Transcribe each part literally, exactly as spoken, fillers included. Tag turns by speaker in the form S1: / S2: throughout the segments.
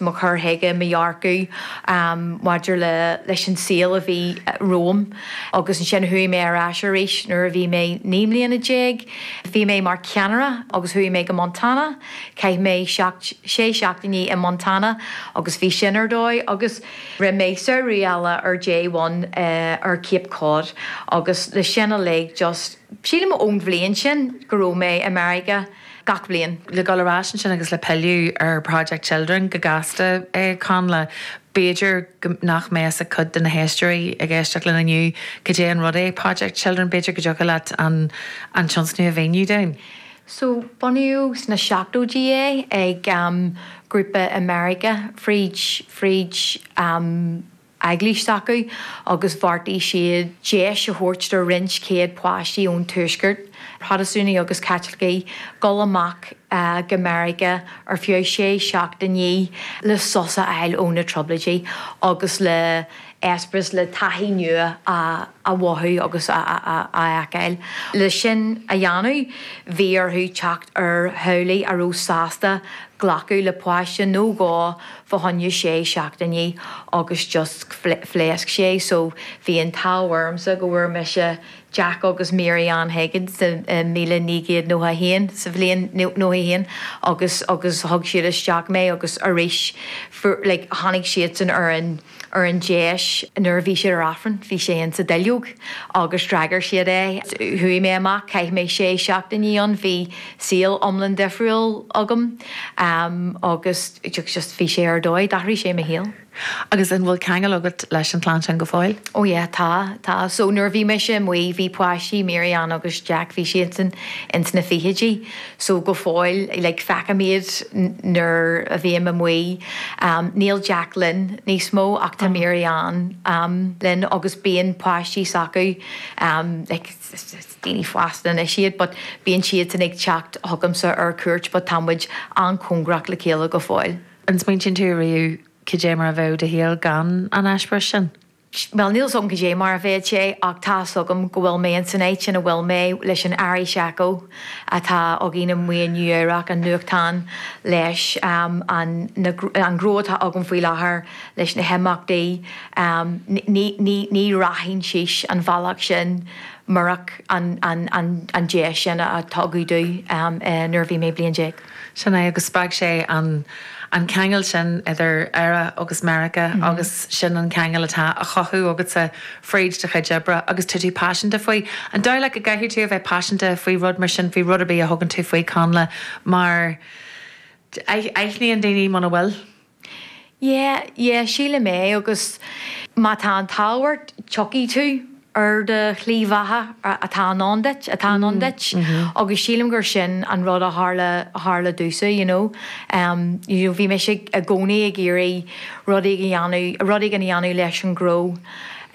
S1: Mo chur chuige, mo dhearcadh um, maidir le leis an saol a bhí romham agus ansin chuaigh mé ar ais arís nuair a bhí mé naoi mbliana déag. Bhí mé mar cheannaire agus chuaigh mé go Montana, Chaith mé sé seachtainí i Montana agus bhí sin ar dóigh agus rinne mé samhradh eile ar J one uh, ar Cape Cod agus le sin uilig just sílim ón bhliain sin go raibh mé i Meiriceá gach bliain.
S2: Le dul ar ais ansin agus le pilleadh ar Project Children go gasta é Connla, b'fhéidir nach mbeadh a cuid de na héisteoirí ag éisteacht linn inniu cad é an rud é Project Children b'fhéidir go dtiocfadh leat an an tionscnamh a mhíniú dúinn.
S1: So bunaíodh sna seachtóidí é ag um, grúpa America fríd fríd um, eaglais acu agus bheartaigh siad deis a thabhairt do roinnt céad páistí ón tuaisceart, Protastúnaigh agus Caitlicigh dul amach uh, go Meiriceá ar feadh sé seachtainí le sos a fháil ó na trioblóidí agus le eispéireas le taithí nua a, a mhothú agus a, a, a fheiceáil. Le sin a dhéanamh bhí orthu teacht ar theaghlaigh a raibh sásta glacadh le páiste nó dhó fá choinne sé seachtainí agus just phléasc sé, so bhí an t-ádh ormsa go bhfuair mise Jack agus Mary Ann Higgins míle naoi gcéad nócha haon sa bhliain nócha haon agus agus thug siad isteach mé agus arís like, tháinig siad san ar an ar an deis nuair a bhí siad ar Aifreann, bhí sé in sa duilleog agus d'fhreagair siad é. Chuaigh mé amach chaith mé sé seachtainí ann bhí saol iomlán difriúil agam um, agus just bhí sé ar dóigh, d'athraigh sé mo shaol.
S2: Agus an bhfuil ceangal agat leis an chlann sin go fóill?
S1: Ó yeah, tá tá so nuair bhí mise amuigh bhí páistí Mary Ann agus Jack bhí siad san ins na fichidí, so go fóill like, feicim iad nuair a bhím amuigh um, níl Jack linn níos mó ach tá Mary Ann um, linn agus bíonn páistí s'acu um, like, daoine fásta anois iad, but bíonn siad san ag teacht chugamsa ar cuairt, but tá muid an-chóngarach le chéile go fóill.
S2: An smaointíonn tú riamh cad é mar a bheadh do shaol gan an eispéireas sin?
S1: Well níl agam cad é mar a bheadh sé ach tá agam go bhfuil mé san áit ina bhfuil mé leis an Irish Echo atá againn amuigh in Nua-Eabhrac an nuachtán leis um, an, na, an gnó atá agam faoi láthair leis na himeachtaí um, ní, ní, ní rachainn síos an bealach sin murach an, an, an, an deis sin a tugadh domh um, uh, nuair bhí mé bliain déag.
S2: Sin é agus spreag sé an an ceangal sin idir Éire agus Meiriceá mm -hmm. agus sin an ceangal atá á chothú agatsa fríd do chuid oibre agus tú tú paiseanta faoi. An dóigh leat go gcaithfidh tú a bheith paiseanta faoi rud mar sin faoi rud ar bith a thugann tú faoi Connla mar aithníonn daoine muna bhfuil.
S1: Yeah, yeah, sílim é agus má tá an t-ádh ort tiocfaidh tú ar do shlí bheatha atá i ndán duit atá i ndán duit mm -hmm. agus sílim gur sin an rud a tharla tharla domhsa you know. Um, you know, bhí mé i gcónaí ag iarraidh rudaí a dhéanamh rudaí a dhéanamh leis an ngnó.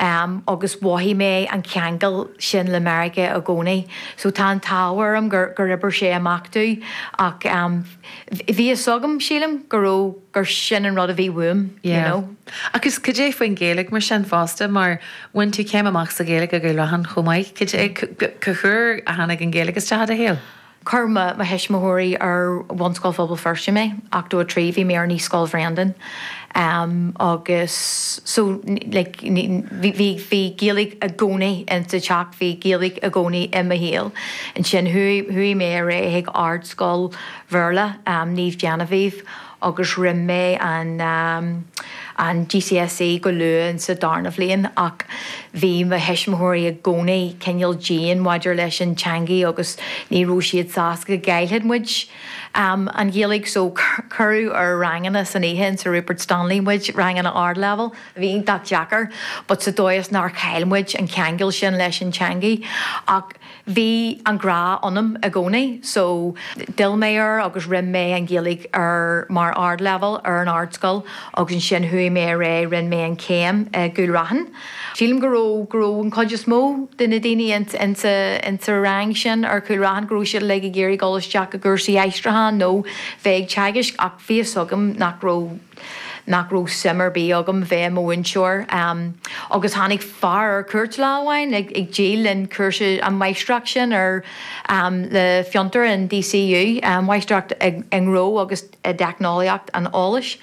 S1: Um, agus mhothaigh mé an ceangal sin le Meiriceá i gcónaí. So tá an t-ádh orm gur gur oibrigh sé amach domh ach um, bhí fhios agam sílim go raibh gur sin an rud a bhí uaim yeah. you know.
S2: Agus cad é faoin Ghaeilge mar sin fosta mar bhain tú céim amach sa Ghaeilge i gCúil Raithin chomh maith, Cad é cá huair a tháinig an Ghaeilge isteach i do shaol.
S1: Chuir mo mo thuismitheoirí ar Bhunscoil Phobal Feirste mé ochtó a trí bhí mé ar Naíscoil Bhreandan. Um, agus so like, bhí bhí Gaeilge i gcónaí insa teach bhí Gaeilge i gcónaí i mo shaol. Ansin chuaigh mé ar aghaidh ardscoil Bhéarla um, Naomh Genevieve agus rinne mé an um, an GCSE go luath sa darna bhliain ach bhí mo thuismitheoirí i gcónaí cineál dian maidir leis an teanga agus ní raibh siad sásta go gcaillfeadh muid um, an Ghaeilge so cuireadh ar ranganna san oíche sa Rupert Stanley muid ranganna ardleibhéil bhí iontach deacair, but sa dóigh is nár chaill muid an ceangal sin leis an teanga ach bhí an grá ionam i gcónaí, so d'fhill mé air agus rinne mé an Ghaeilge ar mar ardleibhéal ar an ardscoil agus ansin chuaigh mé ar aghaidh rinne mé an chéim i gCúil Raithin. Sílim go raibh go raibh an chuid is mó de na daoine insa insa rang sin ar Chúil Raithin go raibh siad le ag iarraidh dul isteach i gcúrsaí aistriúcháin nó bheith ag teagasc ach bhí fhios agam nach raibh nach raibh suim ar bith agam bheith i mo mhúinteoir. Um, agus tháinig fear ar cuairt lá amháin ag, ag díol an cúrsa an máistreacht sin ar um, le Fiontar in DCU, um, máistreacht i ngnó agus i dteicneolaíocht an eolais.